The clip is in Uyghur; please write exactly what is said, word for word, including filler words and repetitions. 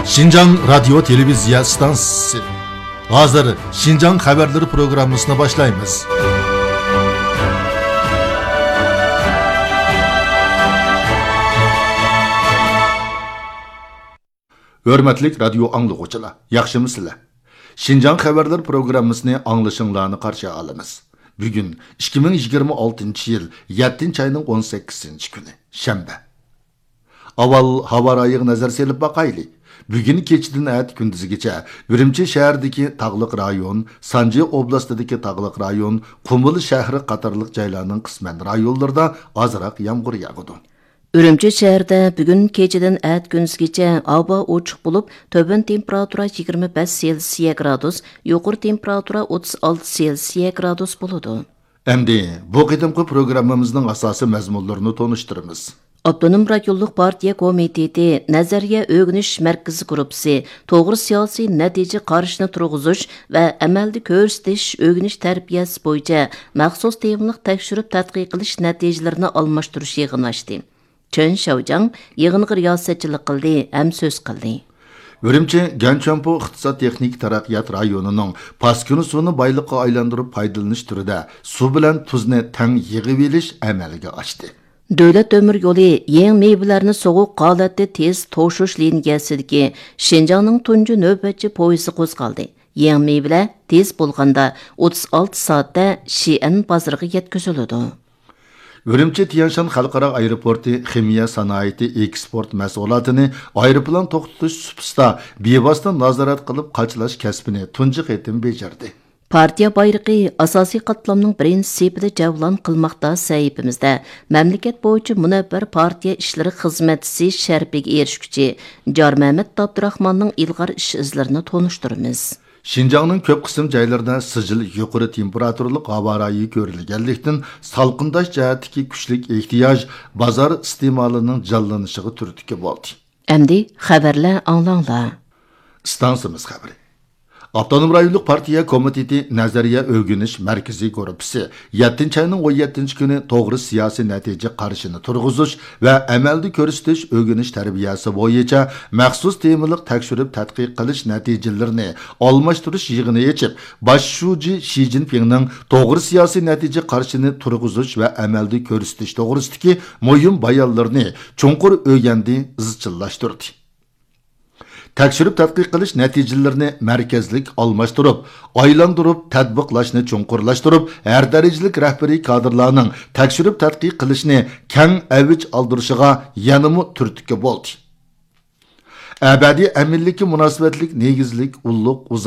شىنجاڭ رادىيو تېلېۋىزىيە ئىستانسىسى. ھازىر شىنجاڭ خەۋەرلىرى پروگراممىسىنى باشلايمىز. ھۆرمەتلىك رادىيو ئاڭلىغۇچىلار، ياخشىمۇسىلەر؟ شىنجاڭ خەۋەرلىرى پروگراممىسىنى ئاڭلىشىڭلارنى قارشى ئالىمىز. بۈگۈن ئىككى مىڭ يىگىرمە ئالتىنچى يىل يەتتىنچى ئاينىڭ ئون سەككىزىنچى كۈنى، شەنبە. ئاۋۋال ھاۋا رايىغا نەزەر سېلىپ باقايلى. بۈگۈن كېچىدىن ئەتە كۈندۈزگىچە ئۈرۈمچى شەھىرىدىكى تاغلىق رايون، سانجى ئوبلاستىدىكى تاغلىق رايون، قۇمۇل شەھىرى قاتارلىق جايلارنىڭ قىسمەن رايونلىرىدا ئازراق يامغۇر ياغىدۇ. ئۈرۈمچى شەھىرىدە بۈگۈن كېچىدىن ئەتە كۈندۈزگىچە ھاۋا ئوچۇق بولۇپ، تۆۋەن تېمپېراتۇرا يىگىرمە بەش سېلسىيە گرادۇس، يۇقىرى تېمپېراتۇرا ئوتتۇز ئالتە سېلسىيە گرادۇس بولىدۇ. ئەمدى بۇ قېتىمقى پروگراممىمىزنىڭ ئاساسىي مەزمۇنلىرىنى تونۇشتۇرىمىز. ئاپتونوم رايونلۇق پارتىيە كومىتېتى نەزەرىيە ئۆگىنىش مەركىزى گۇرۇپپىسى توغرا سىياسىي نەتىجە قارىشىنى تۇرغۇزۇش ۋە ئەمەلدە كۆرسىتىش ئۆگىنىش تەربىيەسى بويىچە مەخسۇس تېمىلىق تەكشۈرۈپ تەتقىق قىلىش نەتىجىلىرىنى ئالماشتۇرۇش يىغىنى ئاچتى. چېن شياۋجياڭ يىغىنغا رىياسەتچىلىك قىلدى ھەم سۆز قىلدى. ئۈرۈمچى گەنچۈەنپو ئىقتىساد تېخنىكا تەرەققىيات رايونىنىڭ پاسكىنا سۇنى بايلىققا ئايلاندۇرۇپ پايدىلىنىش تۈرىدە سۇ بىلەن تۇزنى تەڭ يىغىۋېلىش ئەمەلگە ئاشتى. دۆلەت تۆمۈر يولى يېڭى مېۋىلەرنى سوغۇق ھالەتتە تېز توشۇش لىنىيەسىدىكى شىنجاڭنىڭ تۇنجى نۆۋەتچى پويىزى قوزغالدى. يېڭى مېۋىلەر تېز بولغاندا ئوتتۇز ئالتە سائەتتە شىئەن بازىرىغا يەتكۈزۈلىدۇ. ئۈرۈمچى تيەنشان خەلقئارا ئايروپورتى خىمىيە سانائىتى ئېكسپورت مەھسۇلاتىنى ئايروپىلان توختىتىش سۇپىسىدا بىۋاسىتە نازارەت قىلىپ قاچىلاش كەسپىنى تۇنجى قېتىم بېجىردى. پارتىيە بايرىقى ئاساسىي قاتلامنىڭ بىرىنچى سېپىدە جەۋلان قىلماقتا سەھىپىمىزدە مەملىكەت بويىچە مۇنەۋۋەر پارتىيە ئىشلىرى خىزمەتچىسى شەرىپىگە ئېرىشكۈچى جارمەمەت ئابدۇراخماننىڭ ئىلغار ئىش ئىزلىرىنى تونۇشتۇرىمىز. شىنجاڭنىڭ كۆپ قىسىم جايلىرىدا سىجىل يۇقىرى تېمپېراتۇرىلىق ھاۋا رايى كۆرۈلگەنلىكتىن، سالقىنداش جەھەتتىكى كۈچلۈك ئېھتىياج بازار ئىستېمالىنىڭ جانلىنىشىغا تۈرتكە بولدى. ئەمدى خەۋەرلەر ئاڭلاڭلار. ئىستانسىمىز خەۋىرى. ئاپتونوم رايونلۇق پارتىيە كومىتېتى نەزەرىيە ئۆگىنىش مەركىزى گۇرۇپپىسى يەتتىنچى ئاينىڭ ئون يەتتىنچى كۈنى توغرا سىياسىي نەتىجە قارىشىنى تۇرغۇزۇش ۋە ئەمەلدە كۆرسىتىش ئۆگىنىش تەربىيەسى بويىچە مەخسۇس تېمىلىق تەكشۈرۈپ تەتقىق قىلىش نەتىجىلىرىنى ئالماشتۇرۇش يىغىنى ئېچىپ، باش شۇجى شى جىنپىڭنىڭ توغرا سىياسىي نەتىجە قارىشىنى تۇرغۇزۇش ۋە ئەمەلدە كۆرسىتىش توغرىسىدىكى مۇھىم بايانلىرىنى چوڭقۇر ئۆگەندى، ئىزچىللاشتۇردى. تەكشۈرۈپ تەتقىق قىلىش نەتىجىلىرىنى مەركەزلىك ئالماشتۇرۇپ، ئايلاندۇرۇپ تەتبىقلاشنى چوڭقۇرلاشتۇرۇپ، ھەر دەرىجىلىك رەھبىرىي كادىرلارنىڭ تەكشۈرۈپ تەتقىق قىلىشنى كەڭ ئەۋج ئالدۇرۇشىغا يەنىمۇ تۈرتكە بولدى. ئەبەدىي ئەمىنلىككە مۇناسىۋەتلىك نېگىزلىك ئۇللۇق